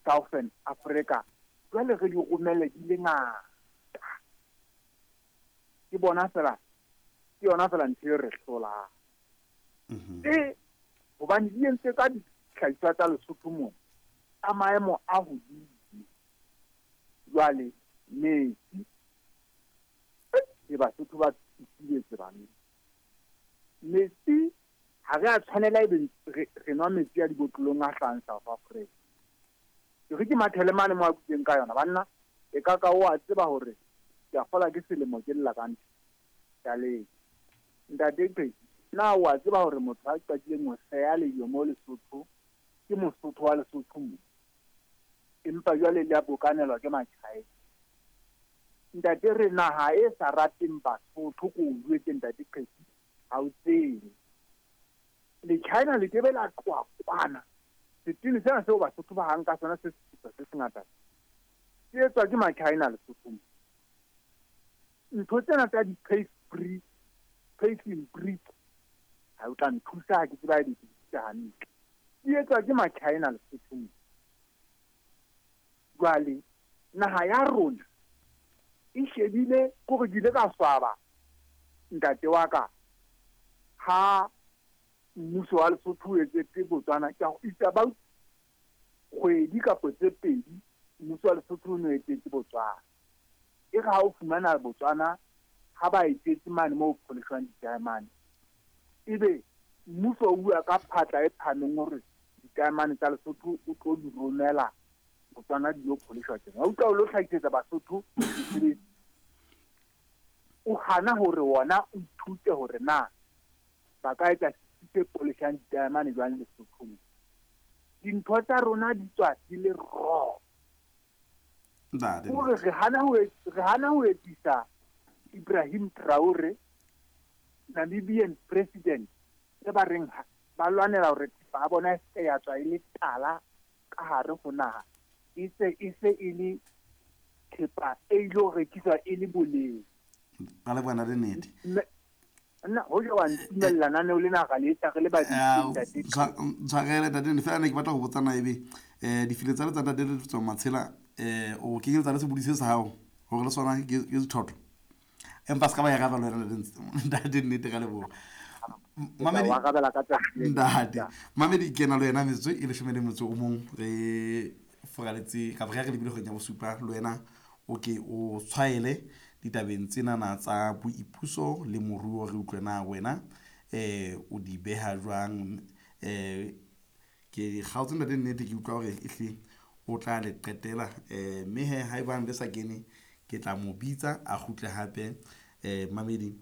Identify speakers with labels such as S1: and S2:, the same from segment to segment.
S1: Southern Africa, jwale re di romelle di le ngata. Ke bona fela, ke yona fela ntho e re hlolang. E hobane di entse ka dihlahiswa tsa Lesotho mona tsa maemo a hodimo. Jwale metsi e Basotho ba tsitsibetse banna. Metsi ha re a tshwanela ebe re nwa metsi a dibotlolong a hlahang South Africa. Ke re ke mathele mane mo a butseng ka yona banna, e ka ka o a tseba hore ke a kgola ke selemo ke lla ka ntho. Taleng. Ntate Qhesi, na o a tseba hore motho a qadileng ho seya lejwe mo Lesotho ke Mosotho wa Lesotho mo? Empa jwale le a bokanelwa ke Machina. Ntate, re naha e sa rateng Basotho, ko o jwetse ntate Qhesi, ha o tsebe. Le China le kebe la tloha kwana. Setene sena seo Basotho ba hang ka sona se seputswa se sengata se etswa ke Machina Lesotho mo. Ntho tsena tsa di-paste brick, paving brick, ha o tla nthusa ha ke tseba di bitsa hantle. Di etswa ke Machina Lesotho mo. Jwale naha ya rona e shebile kore ke ile ka swaba ntate wa ka ha mmuso wa Lesotho o etsetse Botswana. Ke it's about kgwedi kapa tse pedi mmuso wa Lesotho o no etetse Botswana. E re ha o fumana Botswana ha ba etetse mane moo pholeshwang ditaemane, ebe mmuso o bua ka phatla e phahameng hore ditaemane tsa Lesotho o tlo di romela Botswana di lo pholeshwa teng. Wa utlwa o lo hlahisetsa Basotho mesebetsi. O hana hore wona o ithute hore na ba ka etsa setsi se poleshang ditaemane jwang Lesothong. Dintho tsa rona di tswa di le raw.
S2: Ntate.
S1: Hore re hana ho etsisa Ibrahim Traore, Namibian president, e ba reng ba lwanela hore thepa ya bona e se ya tswa e le tala ka hare ho naha, e se e se e le thepa e ilo rekiswa e le boleng.
S2: Ra leboha ntate Nnete.
S1: Nna hoja wa ntumella naneo lena ra le etsa re le babedi, ntate.
S2: Tshwarele ntate Nnete, fela ne ke batla go botsa na ebe difile tsa le tsa ntate le tswa matshela o kenyeletsa le sebodi se sa gago gore le sona ke sethotho, empa se ka ba e raba le wena ntate Nnete. Ka leboga.
S1: Mamedi wa arabela ka tsatsi le.
S2: Ntate Mamedi, ke na le wena metsotso e 11 re foraletse kapa re ya re lebile kgweding ya bosupa. Le wena o ke o tshwaele ditabeng tsenana tsa boipuso le moruo, re utlwe na wena o di beha jwang. Ke kgaotse ntate Nnete, ke utlwa hore ehle o tla le qetela, mme he ha ebang le sa kene ke tla mo bitsa a kgutle hape. Mamedi,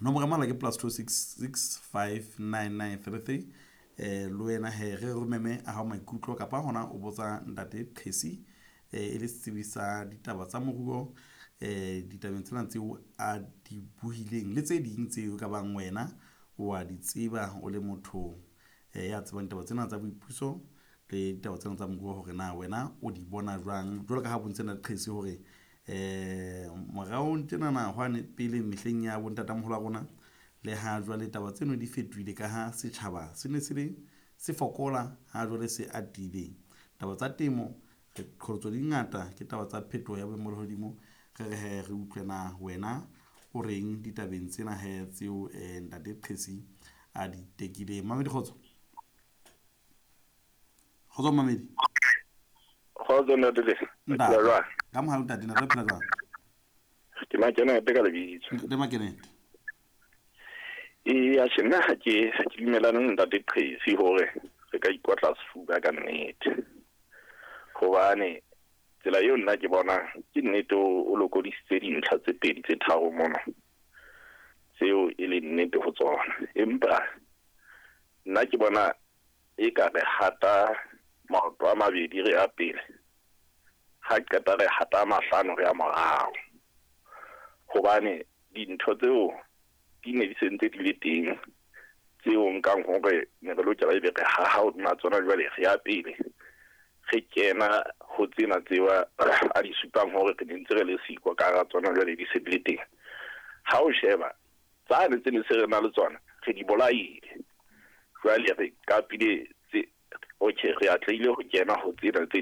S2: nomoro ya mohala ke +266 59933. Le wena he re romeme a hao maikutlo kapa hona o botsa ntate Qhesi e le setsebi sa ditaba tsa moruo ditabeng tsena tseo a di buhileng le tse ding tseo ka bang wena o a di tseba, o le motho ya tsebang ditaba tsena tsa boipuso le ditaba tsena tsa moruo, hore na wena o di bona jwang, jwalo ka ha bontse ntate Qhesi hore moraong tjenana hwane pele mehleng ya bontatamoholo wa rona le ha jwale taba tseno di fetohile, ka ha setjhaba se ne se le se fokola, ha jwale se atile. Taba tsa temo re qholotso di ngata ke taba tsa phetoho ya boemo ba lehodimo. Re re he re utlwe na wena o reng ditabeng tsena he tseo ntate Qhesi a di tekileng. Mamedi, kgotso. Kgotso mamedi.
S3: Kgotso ntate le.
S2: Ntate.
S3: Jwang?
S2: Ka mohalo ntate, ntate phela jwang?
S3: Ke Makenete ka lebitso.
S2: Ntate Makenete.
S3: Ee, atjhe nna ha ke dumelane le ntate Qhesi hore re ka ikotla sefuba ka nnete. Hobane tsela eo nna ke bonang ke nnete, o lokodisitse dintlha tse pedi tse tharo mona tseo e leng nnete ho tsona, empa nna ke bona e ka re hata maoto a mabedi re ya pele, ha qeta re hata a mahlano re ya morao, hobane dintho tseo di ne di sentse di le teng tseo nkang hore ne re lokela ebe re haha hodima tsona. Jwale re ya pele re kena ho tsena tseo a di supang hore re ne ntse re le siko ka hara tsona, jwale di se di le teng. Ha o sheba tsane tse ne se re na le tsona, re di bolaile, jwale re kapile tse okay, re atlehile ho kena ho tsena tse ding.